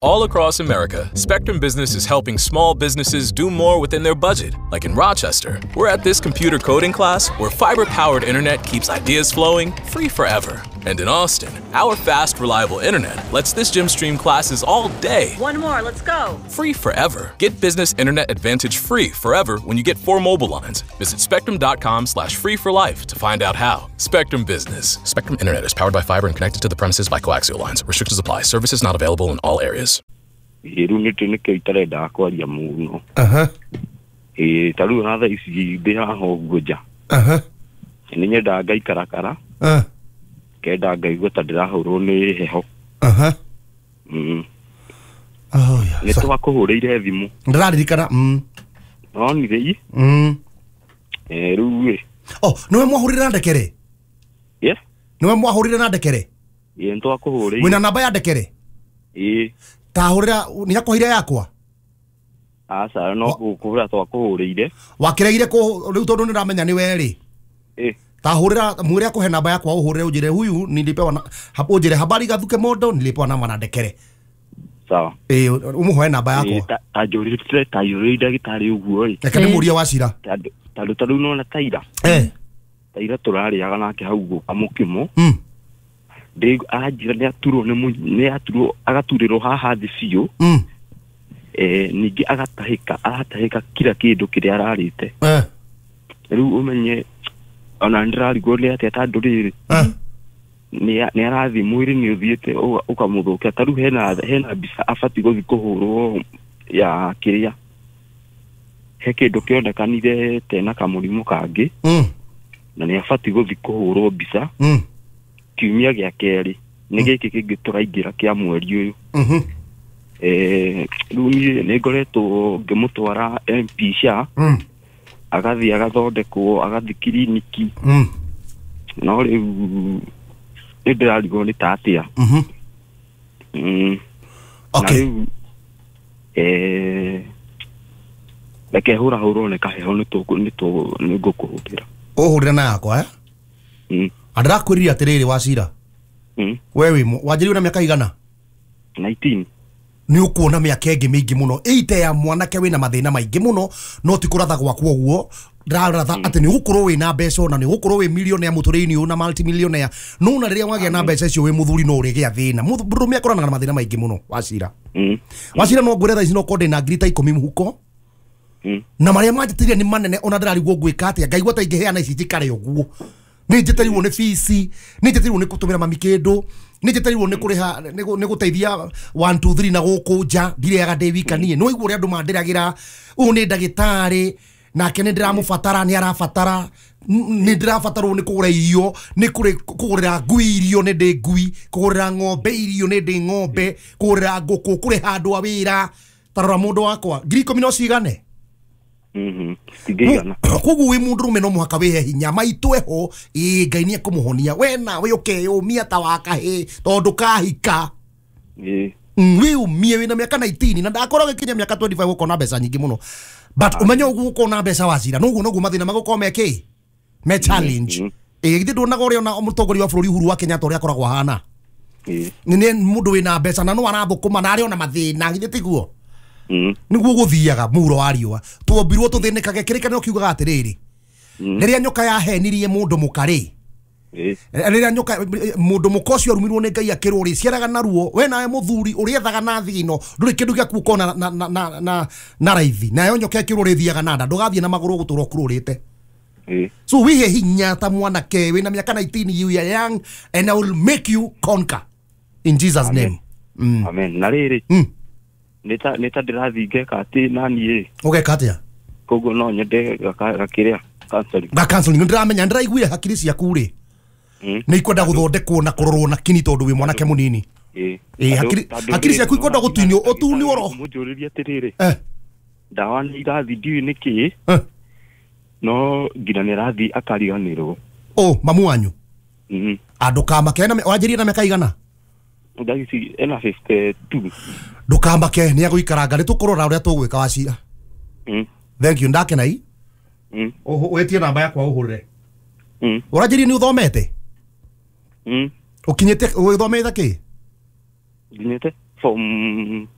All across America, Spectrum Business is helping small businesses do more within their budget. Like in Rochester, we're at this computer coding class where fiber-powered internet keeps ideas flowing free forever. And in Austin, our fast, reliable internet lets this gym stream classes all day. One more, let's go. Free forever. Get business internet advantage free forever when you get 4 mobile lines. Visit spectrum.com/free for life to find out how. Spectrum Business. Spectrum Internet is powered by fiber and connected to the premises by coaxial lines. Restrictions apply. Services not available in all areas. Rĩu nĩkĩo itarendaga kwaria mũno. Ĩĩ ta rĩu ona thaa ici ndĩ haha ũguo nja. Nĩ nyendaga ngaikarakara. Kenda ngaigua ta ndĩrahũrwo nĩ heho. Nĩ twakũhũrĩire thimũ. Ndĩraririkana. Nonire i? Rĩu ĩ. Oh, nĩwe mwahũrire na ndekere? Yes. Nĩwe mwahũrire na ndekere? Ĩĩ nĩtwakũhũrĩire. Wĩna namba ya ndekere? Ĩĩ. Tahũrĩra nĩ akũheire yakwa? Aca no kũhũra twakũhũrĩire. Wakĩregire kũ rĩu tondũ nĩndamenya nĩ we rĩ. Ĩĩ. Tahũrĩra mwĩre akũhe namba yakwa ũhũrĩre ũnjĩre huyu nilipewa na hapo ũnjĩre habari Gathuke Mondo nilipewa namba na ndekere. Sawa. Ĩĩ ũmũhoe namba yakwa. Ta njũrĩte ta njũrĩire ndagĩtarĩ ũguo ĩ. Reke ndĩmũrie Wachira. Tondũ ta rĩu nona taira. Taira tũrarĩaga nake hau gũka mũkimo. Anjĩra nĩ aturwo nĩ aturwo agaturĩrwo haha thĩ biũ. Ningĩ agatahĩka aratahĩka kila kĩndũ kĩrĩa ararĩte. Rĩu ũmenye ona ndĩrarigwo nĩ atĩa tondũ rĩrĩ nĩ arathiĩ mwĩrĩ nĩ ũthiĩte ũkamũthũkia. Ta rĩu hena mbica abatiĩ gũthiĩ kũhũrwo ya kĩrĩa he kĩndũ kĩonekanire tena kamũrimũ kangĩ na nĩ abatiĩ gũthiĩ kũhũrwo mbica kiumia gĩa kerĩ nĩ gĩkĩ kĩngĩ tũraingĩra kĩa mweri ũyũ. Rĩu niĩ nĩ ngoretwo ngĩmũtwara MP SHA agathiĩ agathondekwo agathiĩ kiriniki no rĩu nĩ ndĩrarigwo nĩ ta atĩa. Okay. Na rĩu reke hũrahũrwo nĩ kaheho nĩ ngũkũhũrĩra. Ũhũrĩre na yakwa eh? Andĩrakwĩrire atĩrĩrĩ Wachira. We wĩ wanjĩrĩirio na mĩaka igana? 19. Nĩ ũkuona mĩaka ĩngĩ mĩingĩ mũno ĩite ya mwanake wĩna mathĩna maingĩ mũno no ti kũratha gwakwa ũguo ndĩraratha atĩ nĩ ũgũkorwo wĩna mbeca ona nĩ ũgũkorwo wĩ millionaire mũtũrĩre-inĩ ũyũ na multimillionaire no na rĩrĩa wagĩa na mbeca icio wĩ mũthuri no ũrĩgĩa thĩna. Mũndũrũme akoranaga na mathĩna maingĩ mũno Wachira. Wachira no ngwĩre thaa ici no korwo ndĩna ngiri ta 10 mũhuko na marĩa manjĩtĩire nĩ manene ona ndĩrarigwo ngwĩka atĩa ngaigua ta ingĩheana ici njikare ũguo. Nĩ njĩtĩirwo nĩ fees, nĩ njĩtĩirwo nĩ gũtũmĩra mami kĩndũ, nĩ njĩtĩirwo nĩ kũrĩha nĩ gũteithia 1 2 3 na gũkũ nja ndirĩaga ndĩ wika niĩ. No igua ũrĩa andũ mandĩragĩra ũyũ nĩ ndagĩtarĩ nake nĩ ndĩramũbatara nĩ arabatara nĩ ndĩrabatarwo nĩ kũgũra irio nĩ kũgũrĩra ngui irio nĩ ndĩ ngui kũgũrĩra ng'ombe irio nĩ ndĩ ng'ombe kũgũrĩra ngũkũ kũrĩha andũ a wĩra. Ta rora mũndũ wakwa ngiri 10 no cigane? Koguo wĩ mũndũrũme no mũhaka wĩhe hinya maitũ eho ĩ Ngai nĩ ekũmũhonia we nawe ũkeyũmia ta wa kahĩĩ tondũ kahika wĩyũmie wĩna mĩaka 19 na ndakorwo gĩkinya mĩaka 25 ũkona mbeca nyingĩ mũno but ũmenye ũguo ũkona mbeca Wachira noguo noguo mathĩna magũkorwo me kĩ me challenge. Ĩ githĩ nduonaga ũrĩa ona mũtongoria wa bũrũri Uhuru wa Kenyatta ũrĩa akoragwo ahana nĩ mũndũ wĩna mbeca na no arathũkũma na arĩ ona mathĩna githĩ tiguo? Niguo gũthiaga mũhuro wa riũa twombirwo tũthĩnĩkage kĩrĩkanĩro kiugaga atĩrĩrĩ rĩrĩa nyoka yahenirie mũndũ mũka rĩ rĩrĩa nyoka mũndũ mũka ũcio arumirwo nĩ Ngai akĩrwo rĩ ciaraga na ruo we nawe mũthuri ũrĩethaga na thigino ndũrĩ kĩndũ gĩaku ũkona na raithi nayo nyoka ĩkĩrwo rĩthiaga na nda ndũgathiĩ na magũrũ ũgũtũra ũkurũrĩte. So wĩhe hinya ta mwanake wĩna mĩaka 19 you are young and I will make you conquer in Jesus name. Amen. Na rĩrĩ nĩ ta ndĩrathiĩ ngeka atĩ naniĩ ũgeka atĩa? Koguo no nyende gakĩrĩa counseling. Ga counseling ndĩramenya ndĩraiguire hakiri ciaku rĩ nĩ ikwenda gũthondekwo na kũrorwo na kini tondũ wĩ mwanake mũnini. Hakiri ciaku ikwenda gũtunio ũtunio ro. Mũnjũrĩrie atĩrĩrĩ ndawa nĩ irathiĩ ndiũĩ nĩkĩ no nginya nĩ arathiĩ akariganĩrwo. Oh mamu wanyu? Ndũkamake wanjĩrĩrie na mĩaka igana? Ndagĩci ena 52. Ndũkamake nĩ agũikaranga nĩ tũkũrora ũrĩa tũgwĩka Wachira. Thank you ndakena i. Wĩtie namba yakwa ũhũrĩre. Ũranjĩrire nĩ ũthomete? Ũkinyĩte ũthomete kĩ? Nginyĩte Form